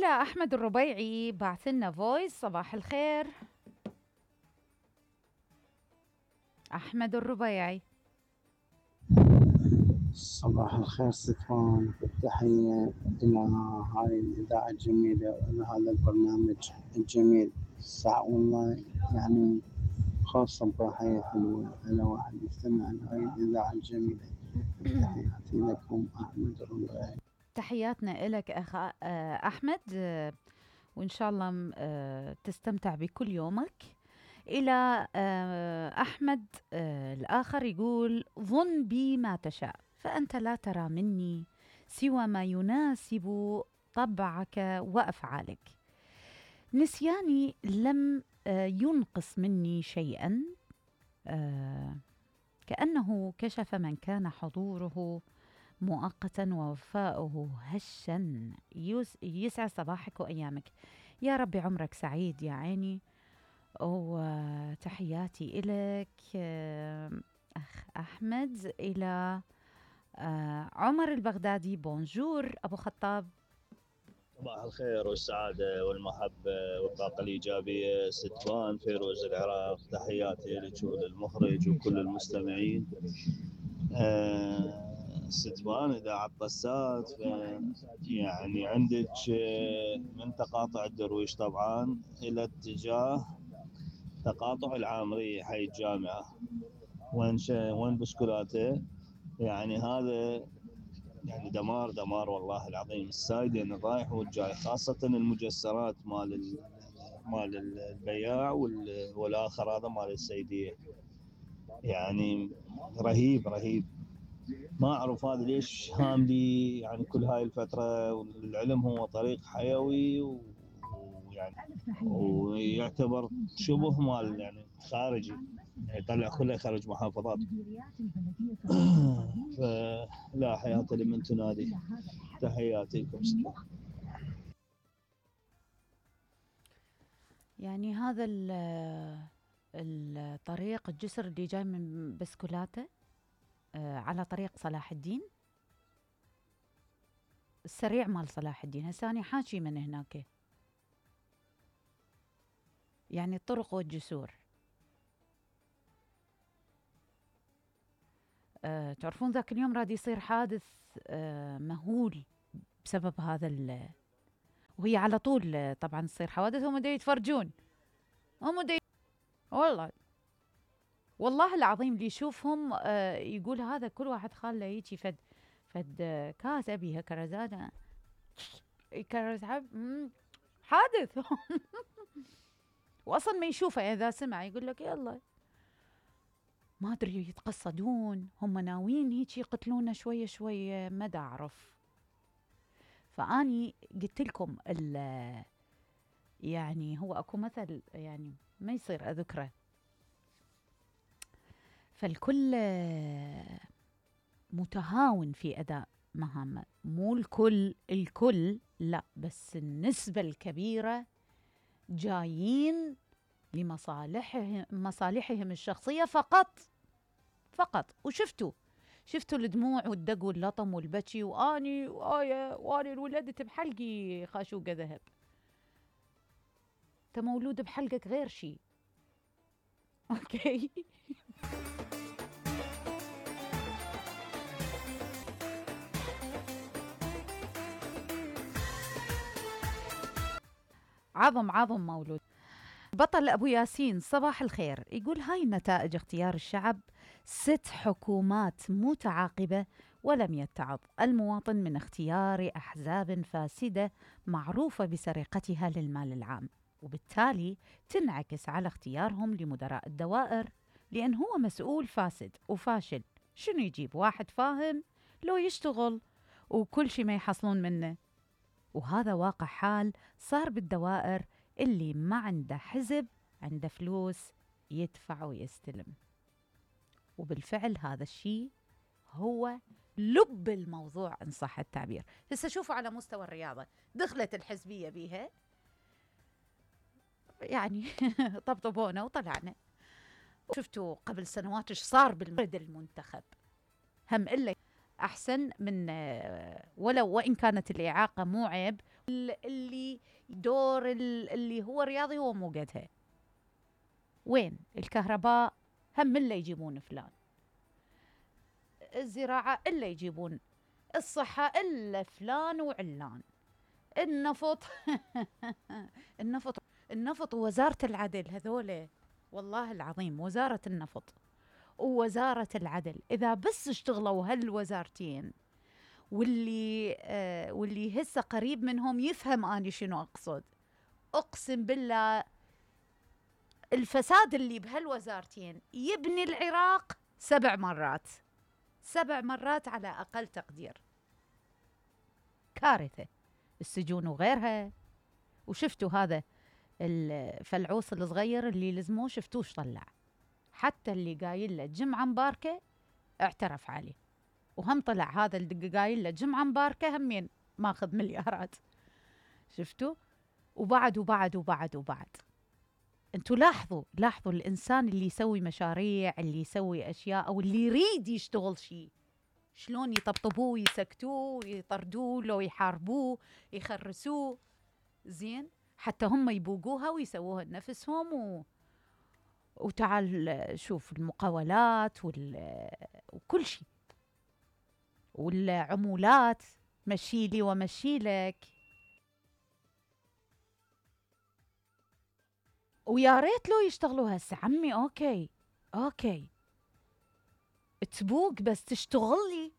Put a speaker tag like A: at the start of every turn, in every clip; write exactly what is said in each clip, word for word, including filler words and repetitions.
A: إلى أحمد الربيعي بعث لنا فويس. صباح الخير أحمد الربيعي.
B: صباح الخير ستفان، تحية إلى هاي الإذاعة الجميلة وإلى هذا البرنامج الجميل. ساعة والله يعني خاصة بحياة حلوة على واحد يستمع لهاي الإذاعة الجميلة. تحياتي لكم أحمد الربيعي.
A: تحياتنا إلك أخ أحمد، وإن شاء الله تستمتع بكل يومك. إلى أحمد الآخر يقول: ظن بي ما تشاء فأنت لا ترى مني سوى ما يناسب طبعك وأفعالك. نسياني لم ينقص مني شيئا، كأنه كشف من كان حضوره مؤقتا ووفاؤه هشا. يسعد صباحك وأيامك، يا ربي عمرك سعيد يا عيني. وتحياتي إليك أخ أحمد. إلى عمر البغدادي: بونجور أبو خطاب.
C: صباح الخير والسعادة والمحبة والطاقة الإيجابية ستفان فيروز العراق. تحياتي لك وللمخرج وكل المستمعين. أه ستفان إذا عطسات يعني عندك من تقاطع الدرويش طبعا إلى اتجاه تقاطع العامرية حي الجامعة وين وين بسكولاته. يعني هذا يعني دمار دمار والله العظيم. السايدين الرايح والجاي، خاصة المجسرات مال مال البياع والآخر هذا مال السيدية، يعني رهيب رهيب. ما أعرف هذا ليش هاملي يعني كل هاي الفترة. والعلم هو طريق حيوي ويعني ويعتبر شبه مال يعني خارجي، يعني يطلع كله خارج محافظات. فلا حياة لمن تنادي. تحياتي لكم.
A: يعني هذا الطريق الجسر اللي جاي من بسكولاته على طريق صلاح الدين السريع مال صلاح الدين. هساني حاشي من هناك، يعني الطرق والجسور. أه تعرفون ذاك اليوم راد يصير حادث أه مهول بسبب هذا ال وهي على طول طبعا تصير حوادث. هم دا يتفرجون، هم دا ي... والله والله العظيم اللي يشوفهم أه يقول هذا كل واحد خاله يجي فد فد كاس أبيها كرزانة يكرز حادث. وأصلا ما يشوفه، إذا سمع يقول لك يلا ما أدري يتقصدون، هم ناويين هيك يقتلونا شوية شوية، ما دا أعرف. فأني قلت لكم يعني هو أكو مثل يعني ما يصير أذكره، فالكل متهاون في أداء مهامه. مو الكل الكل لا، بس النسبة الكبيرة جايين لمصالحهم مصالحهم الشخصية فقط فقط. وشفتوا شفتوا الدموع والدق واللطم والبكي، واني وايه واني ولدت بحلقي خاشوقة ذهب. انت مولود بحلقك غير شيء. اوكي. عظم عظم مولود. بطل أبو ياسين: صباح الخير. يقول: هاي نتائج اختيار الشعب، ست حكومات متعاقبة ولم يتعظ المواطن من اختيار أحزاب فاسدة معروفة بسرقتها للمال العام، وبالتالي تنعكس على اختيارهم لمدراء الدوائر، لأن هو مسؤول فاسد وفاشل. شنو يجيب واحد فاهم لو يشتغل وكل شيء ما يحصلون منه؟ وهذا واقع حال صار بالدوائر اللي ما عنده حزب، عنده فلوس يدفع ويستلم. وبالفعل هذا الشيء هو لب الموضوع إن صح التعبير. هسه شوفوا على مستوى الرياضة، دخلت الحزبية بيها يعني طبطبونا وطلعنا. شفتوا قبل سنوات ايش صار بالمرد المنتخب، هم إلا أحسن من ولو وإن كانت الإعاقة مو عيب، اللي دور اللي هو رياضي هو مو قدها. وين الكهرباء هم إلا يجيبون فلان، الزراعة إلا يجيبون، الصحة إلا فلان وعلان، النفط النفط النفط ووزارة العدل هذول والله العظيم وزارة النفط ووزارة العدل إذا بس اشتغلوا هالوزارتين واللي آه واللي هسه قريب منهم يفهم أني شنو أقصد. أقسم بالله الفساد اللي بهالوزارتين يبني العراق سبع مرات سبع مرات على أقل تقدير. كارثة السجون وغيرها. وشفتوا هذا الفلعوص الصغير اللي لزموه شفتوش طلع، حتى اللي قايل له جمعة مباركة اعترف عليه، وهم طلع هذا اللي قايل له جمعة مباركة همين ماخذ مليارات. شفتوا؟ وبعد وبعد وبعد وبعد انتوا لاحظوا لاحظوا الإنسان اللي يسوي مشاريع، اللي يسوي أشياء أو اللي يريد يشتغل شيء شلون يطبطبوه ويسكتوه ويطردوه لو يحاربوه يخرسوه زين حتى هم يبوقوها ويسووها لنفسهم و... وتعال شوف المقاولات وال... وكل شيء والعمولات مشيلي ومشيلك. ويا ريت لو يشتغلوا هسه عمي. اوكي اوكي تبوق بس تشتغل لي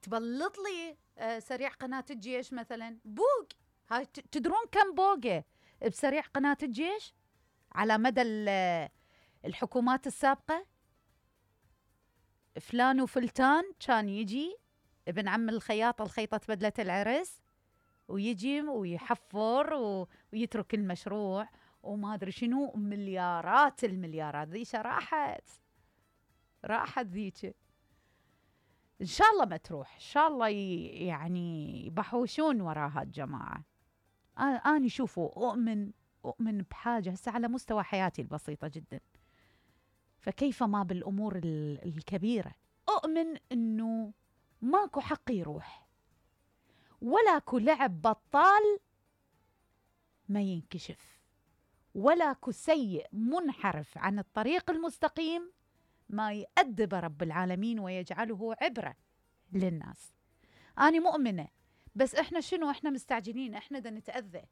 A: تبلط لي آه سريع قناة الجيش مثلا بوق. هاي تدرون كم بوقه بسريع قناة الجيش على مدى الحكومات السابقة؟ فلان وفلتان كان يجي ابن عم الخياط الخيطة بدلة العرس ويجي ويحفر ويترك المشروع وما أدري شنو مليارات المليارات. ذيش راحت راحت ذيك إن شاء الله ما تروح. إن شاء الله يعني يبحوشون وراها الجماعة. أنا شوفوا أؤمن أؤمن بحاجة هسه على مستوى حياتي البسيطة جدا، فكيف ما بالأمور الكبيرة. أؤمن أنه ماكو حق يروح ولاكو لعب بطال ما ينكشف ولاكو سيء منحرف عن الطريق المستقيم ما يأدب رب العالمين ويجعله عبرة للناس. أنا مؤمنة بس إحنا شنو إحنا مستعجلين، إحنا دا نتأذى